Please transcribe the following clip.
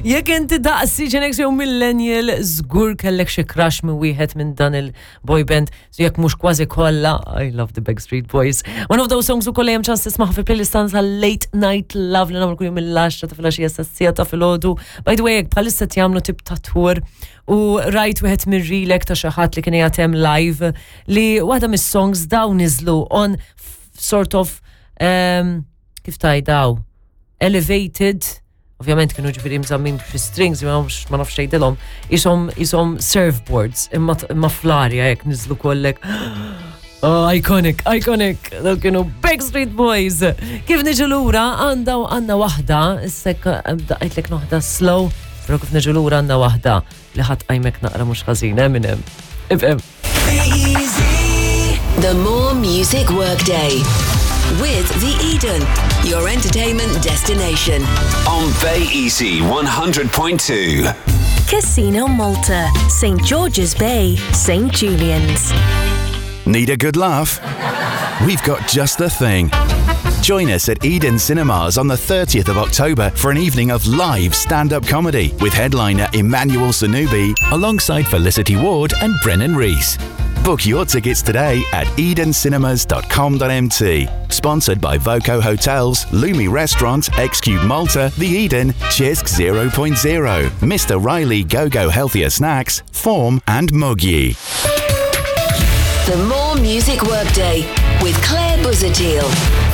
Jekk inti daqsi Gen X jew millennial, żgur kellek xi crush minn wieħed minn dan il-boy band, so jekk mhux kważi kollha, I love the Backstreet Boys. One of those songs ukoll hemm ċans tismaħ fi playlist tagħna tal-Late Night Love li nagħmlu kuljum mill-10 ta' filgħaxija sas-siegħa ta' filgħodu. By the way, jekk bħalissa jagħmlu tip ta' tour u rajt wieħed mir-relek ta' xi ħadd li kien qiegħed hemm live li waħda mis-songs dawn niżlu on sort of kif tajdaw elevated ovvjament kienu ġifieri mżammin fi strings, ma nafx ma nafx tgħidilhom, ishom ishom surfboards imma imma fl-arja hekk niżlu kollek. Oh, iconic, iconic, daw kienu Backstreet Boys. Kif niġu lura għandha għandna waħda, issek daqqitlek noħda slow, però kif niġu lura għandna waħda li ħadd qajmek naqra mhux ħażin, Eminem. Ifhem. The More Music Workday with The Eden, your entertainment destination. On Bay Easy 100.2. Casino Malta, St. George's Bay, St. Julian's. Need a good laugh? We've got just the thing. Join us at Eden Cinemas on the 30th of October for an evening of live stand up comedy with headliner Emmanuel Sanubi alongside Felicity Ward and Brennan Reese. Book your tickets today at edencinemas.com.mt. Sponsored by Voco Hotels, Lumi Restaurant, Xcube Malta, The Eden, Chisk 0.0, Mr. Riley Go Go Healthier Snacks, Form, and Mugi. The More Music Workday with Claire Buzadil.